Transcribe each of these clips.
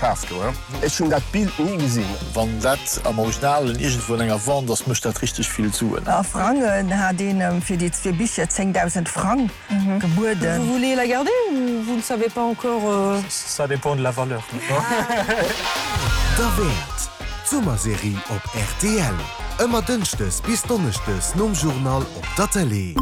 Schaf do, he? Ech hunn dat Bild ni gesinn. Wann dat am Originalen iergendwou an enger Wand ass, mécht dat richteg vill Suen. A Frangen hat een em fir déi zwee Bicher 10.000 Frang gebueden. Vous voulez la garder ou vous ne savez pas encore? Ça dépend de la valeur. Derwäert, D'Summerserie op rtl. Ëmmer Dënschdes bis Donneschdes nom Journal op der Tëlee.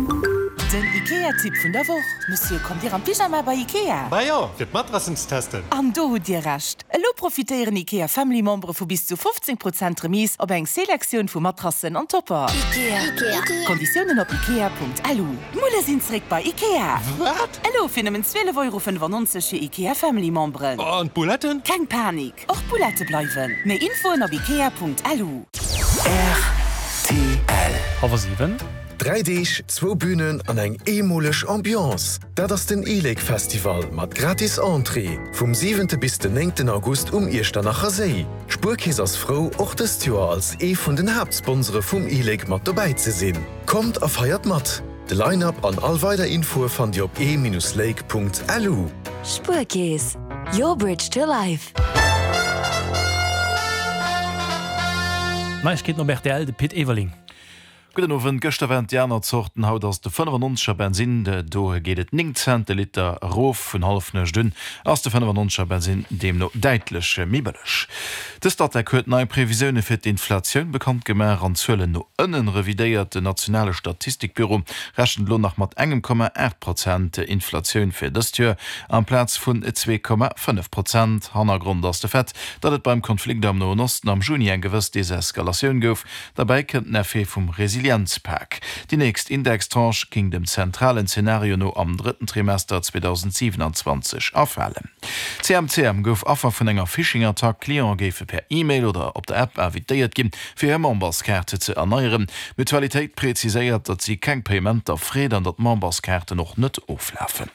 Den Ikea-Tipp vun der Woch, Monsieur, kommt Dir am Pyjama bei Ikea? Bah jo, fir d'Matrassen ze testen. An do hutt Dir Recht! Elo profitéieren Ikea Family Membere vu bis zu 15 Prozent Remise op eng Selektioun vu Matrassen an Topper. Ikea. Konditiounen op ikea.lu. D'Mulle sinn zréck bei Ikea! Wat? Elo fir nëmmen 12,95 Euro fir Ikea Family Memberen. An d'Bouletten? Keng Panik, och d'Boulette bleiwen. Méi Infoen op ikea.lu. Rtl. Halwer 7. Dräi Deeg, zwou Bünen an eng eemoleg Ambiance, dat ass den e-Lake Festival mat gratis Entrée vum siwente bis den néngten August um Iechternacher Séi. D'Spuerkeess ass frou, och dëst Joer als ee vun den Haaptsponsore vum e-Lake mat dobäi ze sinn. Kommt a feiert mat! De Line-Up an all weider Infoe fannt Dir op e-lake.lu. Spuerkeess, your bridge to life. Neiegkeeten op rtl, de Pit Everling. Gudden Owend. Gëschter waren et déi aner Zorten, haut ass et de 95er Bensinn. Do geet et 9 Cent de Liter erof. Vun Hallefnuecht un ass de 95er Bensinn deemno däitlech méi bëlleg. De Statec huet nei Previsioune fir d'Inflatioun bekannt gemaach an d'Zuelen no ënnen revidéiert. Den nationale Statistikbüro rechent elo nach mat engem Komma 8 Prozent Inflatioun fir dëst Joer, amplaz vun 2,5 Prozent. Hannergrond ass de Fait, datt et beim Konflikt am Noen Osten am Juni eng gewëss Deseskalatioun gouf. Derbäi kënnt den Effet vum Resilienzpak. Déi nächst Indextranche géing dem zentralen Zenario no am drëtten Trimester 2027 erfalen. CMCM gouf Affer vun enger Phishing-Attack. Clientë géife per E-Mail oder op der App invitéiert ginn, fir hir Memberskaart ze erneieren. D'Mutualitéit preziséiert, datt si keng Payementer freet an datt d'Memberskaarten och net oflafen.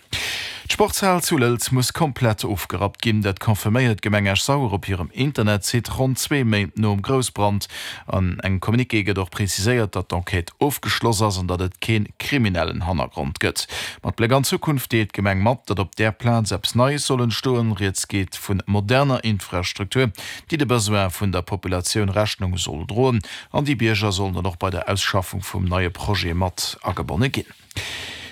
D'Sportshal zu Lëlz muss komplett ofgerappt ginn. Dat confirméiert d'Gemeng Esch-Sauer op hirem Internetsite, ronn zwee Méint nom Groussbrand. An engem Communiqué gëtt och preziséiert, datt d'Enquête ofgeschloss ass an datt et kee kriminellen Hannergrond gëtt. Mat Bléck an d'Zukunft deelt d'Gemeng mat, datt op där Plaz eppes Neies soll entstoen. Rieds geet vu moderner Infrastruktur, déi de Besoin vun der Populatioun Rechnung soll droen. An déi Bierger sollen dann och bei der Ausschaffung vum neie Projet mat agebonne ginn.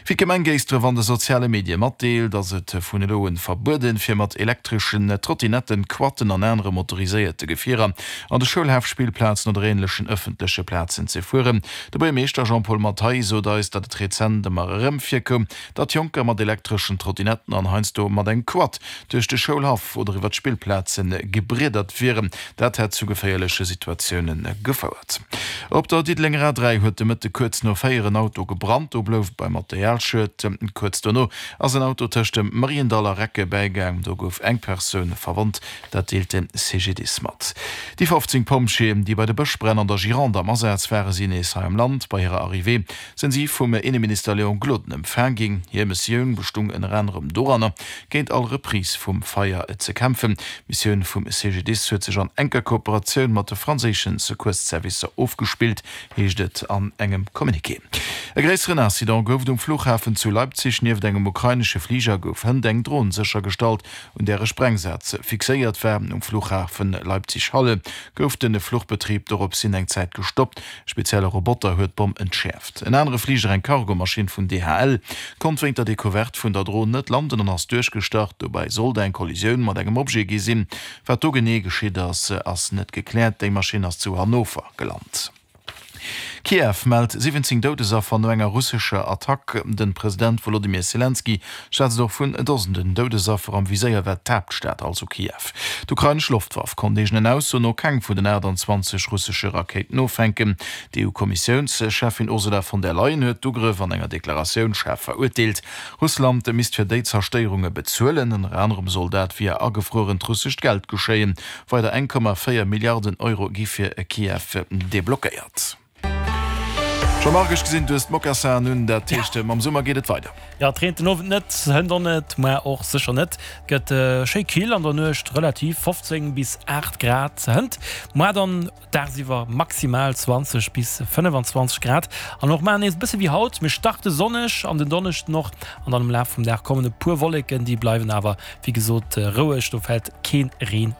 Wéi d'Gemeng Géisdref an de soziale Medie matdeelt, ass et vun elo un verbueden, fir mat elektreschen Trottinetten, Quatten an anere motoriséierte Gefierer an de Schoulhafspillplazen oder änlechen ëffentleche Plazen ze fueren. De Buergermeeschter Jean-Paul Mathay sot eis, datt et rezent ëmmer erëm virkoum, datt Jonker mat elektreschen Trottinetten an heiansdo mat engem Quad duerch de Schoulhaff oder iwwer d'Spillplaze gebriedert wieren. Dat hätt zu geféierleche Situatioune gefouert. Op der Diddelenger A3 huet de Mëtte kuerz no 4 en Auto gebrannt. Do blouf et beim Materialschued. Kuerz dono ass en Auto tëscht dem Mariendall a Recke bäigaang. Do gouf eng Persoun verwonnt, dat deelt de CGDIS mat. Déi 15 Pompjeeën, déi bei de Bëschbränn an der Gironde am Asaz waren, sinn nees hei am Land. Bei hirer Arrivée sinn si vum Inneminister Léon Gloden empfaang ginn. Hir Missioun bestung ënner anerem doranner, géint all Reprise vum Feier ze kämpfen. D'Missioun vum CGDIS huet sech an enker Kooperatioun mat de franséischen Secours-Servicer ofgespillt, heescht et an engem Communiqué. E gréisseren Incident gouf et um Fluchhafen zu Leipzig. Nieft engem ukrainesche Fliger gouf hënt eng Dron séchergestallt, un där e Sprengsaz fixéiert war. Um Fluchhafen Leipzig-Halle gouf de Fluchbetrib doropshin eng Zäit gestoppt. E spezielle Roboter huet d'Bomm entschäerft. En anere Fliger, eng Cargomaschinn vun DHL, konnt wéint der Decouverte vun der Dron net landen an ass duerchgestart. Dobäi sollt eng Kollisioun mat engem Objet gi sinn. Wat do genee geschitt ass, ass net gekläert. Déi Maschinn ass zu Hannover gelant. Kiew mellt 17 Doudesaffer no enger russescher Attack. De President Wolodymyr Selenskyj schwätzt och vun Dosenden Doudesaffer. Am Viséier war d'Haaptstad, also Kiew. D'ukrainesch Loftwaff konnt eegenen Ausso no keng vun den 28 russesche Rakéiten offänken. D'EU-Kommissiounscheffin Ursula von der Leyen huet d'Ugrëff an enger Deklaratioun schaarf verurteelt. Russland misst fir déi Zerstéierunge bezuelen. Ënner anerem soll dat via agefruerent russescht Geld geschéien. Weider 1,4 Milliarden Euro gi fir Kiew deblockéiert. Jean-Marc, ech gesinn, du hues d'Mocassin un, dat heescht, mam Summer geet et weider. Jo, et reent den Owend net, hënt och net, muer och sécher net. Et gëtt schéi kill an der Nuecht, relativ 15 bis 8 Grad hënt, muer dann dagsiwwer maximal 20 bis 25 Grad. An och mar nees e bësse wéi haut, mir starte sonneg an den Donneschden och an dann am Laf vum Dag kommen e puer Wolleken, déi bleiwen awer wéi gesot roueg, do fält kee Reen.